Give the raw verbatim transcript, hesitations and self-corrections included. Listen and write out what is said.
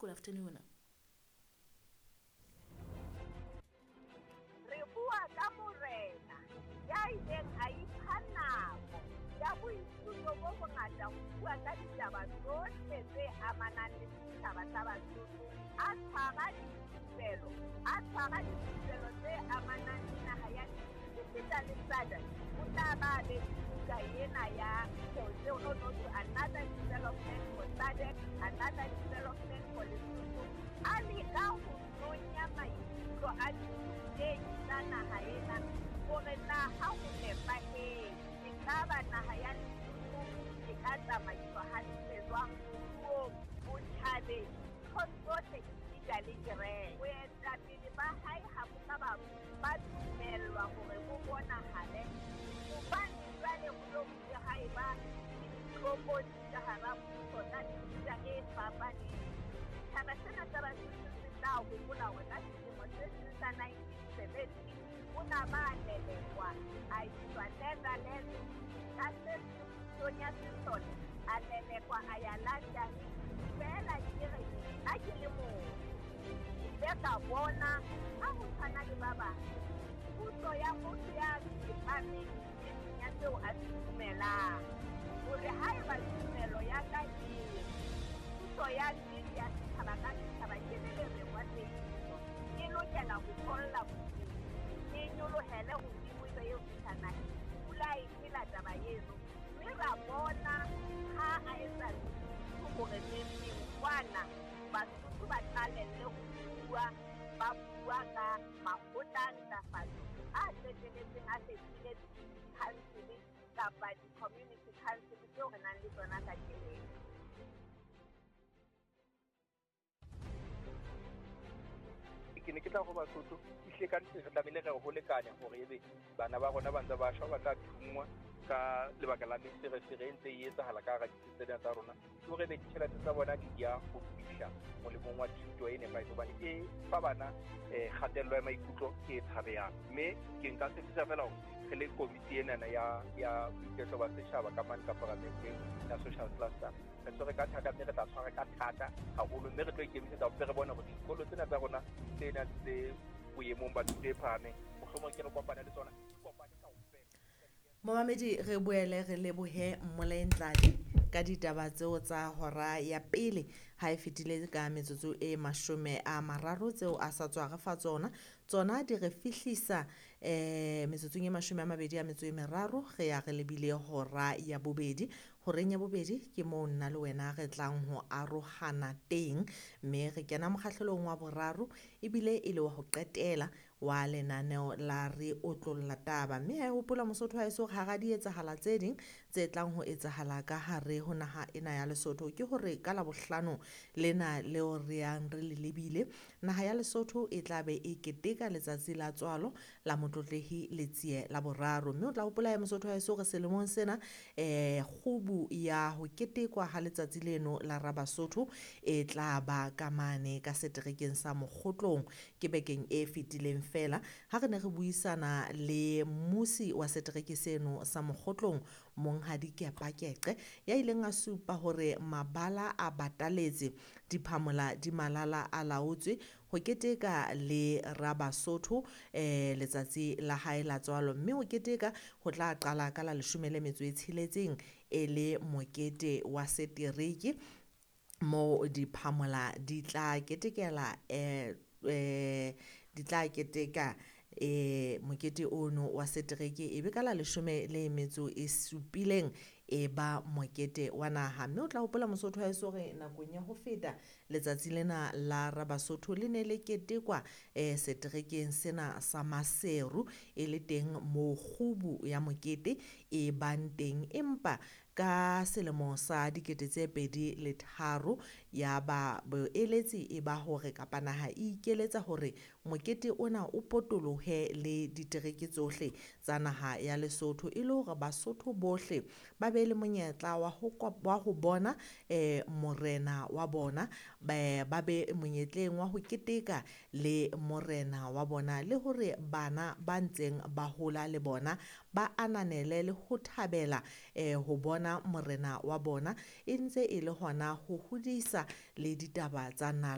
Good afternoon. Re bua ka morena ya ileng a ipha nako ya boithuto bo bongata ho bua ka ditaba tsohle tse amanang le setjhaba sa Basotho. A tshwara dithupelo, a tshwara dithupelo tse amanang le naha ya esita le SADC. O tla ba be buka ena ya tseo no no to another development for SADC, another development for Lesotho. A leka ho nonya maikutlo a dithutehi tsa naha ena hore na ha ho nepahetse ekaba naha ya Lesotho e ka tsamaiswa hantle jwang moruong, botjhabeng, nthong tsohle esita le kereke. Boetapele ba hae ha bo ka ba ba dumellwa hore bo bonahale hobane jwale ho lo bile ha eba le ditlokotsi ka hara mmuso tsa mefuta e fapaneng. Setjhaba sena sa Basotho se tla hopola hore ka selemo se seng sa nineteen seventy o na ba lelekwa a iswa Netherlands ka se pusong ya sesole a lelekwa a ya London. Feela ke re nna ke le motho ke ile ka bona ha ho tshwana le ba bang puso ya motho ya tsepameng nneteng ya seo a se dumelang, hore haeba tumelo ya ka e re puso ya nnete ya setjhaba ka setjhaba ke le lereng wa tsebiso e lokela ho tholla bodimo, e nyolohele hodimo ebe eo fihla naheng. Pula e phela taba eno, mme ra bona ha a etsa hore neng kwana Basotho ba qalelle ho bua, ba bua ka makgotla a ntlafatso a qetelletseng a fetohile di-council kapa di-community council tseo re nang le tsona kajeno. Ke ne ke tla ho Basotho ehlile ka nnete re tlamehile re ho lekane hore ebe bana ba rona ba ntse ba shwa, ba tla thunngwa ka lebaka la meferefere e ntse e etsahala ka hara ditsi tsena tsa rona. Ke hore ebe ditjhelete tsa bona di ya ho fihla molemong wa thuto e nepahetseng hobane e fa bana eh kgatello ya maikutlo e tshabehang. Mme ke nka tshepisa feela hore re le komiti enana ya ya boiketlo ba setjhaba ka mane ka paramenteng ya social cluster re tshwere ka thata, mme re tla tshwara ka thata haholo, mme re tlo ikemisetsa hore re bone hore dikolo tsena tsa rona tsena tse boemong ba thuto e phahameng mohlomong ke re kopane le tsona di kopane kaofela. Momamedi, re boele re lebohe Mmolai Ntladi ka ditaba tseo tsa hora ya pele ha e fetile ka metsotso e mashome a mararo tseo a sa tswa re fa tsona. Tsona di re fihlisa eh metsotsong e mashome a mabedi a metso e meraro re ya re lebile hora ya bobedi. Horeng ya bobedi ke moo nna le wena re tlang ho arohana teng, mme re kena mokgahlelong wa boraro ebile e le wa ho qetela wa lenaneo la Re Otlolla Taba. Mme ha e hopola Mosotho ha eso hara di etsahala tse ding tse tlang ho etsahala ka hare ho naha ena ya Lesotho ke hore ka Labohlano lena leo re yang re le lebile, naha ya Lesotho e tla be e keteka letsatsi la tswalo la Motlotlehi Letsie la boraro. Mme o tla hopola ya Mosotho ha eso re selemong sena eh kgubu ya ho ketekwa ha letsatsi leno la Rabasotho e tla ba ka mane ka seterekeng sa Mokgotlong ke bekeng e fetileng fela ha re ne re buisana le mmusi wa setereke seno sa Mokgotlong Monghadi Kepakeqe ya ileng a supa hore mabala a bataletse, diphamola di malala a laotswe ho keteka le Rabasotho eh letsatsi la hae la tswalo. Mme ho keteka ho tla qala ka la leshome le metso e tsheletseng e le mokete wa setereke moo diphamola di tla ketekela eh eh di tla keteka eh mokete ono wa setereke ebe ka la leshome le metso e supileng e ba mokete wa naha. Mme o tla hopola Mosotho ha eso hore nakong ya ho feta letsatsi lena la Rabasotho le ne le ketekwa eh seterekeng sena sa Maseru e le teng moo kgubu ya mokete e bang teng, empa ka selemo sa dikete tse pedi le tharo ya ba boeletsi e ba hore kapa naha e ikeletsa hore mokete ona o potolohe le ditereke tsohle tsa naha ya Lesotho e le hore Basotho bohle ba be le monyetla wa ho wa ho bona eh morena wa bona, ba ba be monyetleng wa ho keteka le morena wa bona, le hore bana ba ntseng ba hola le bona ba ananele le ho thabela eh ho bona morena wa bona e ntse e le hona ho hodisa le ditaba tsa nala.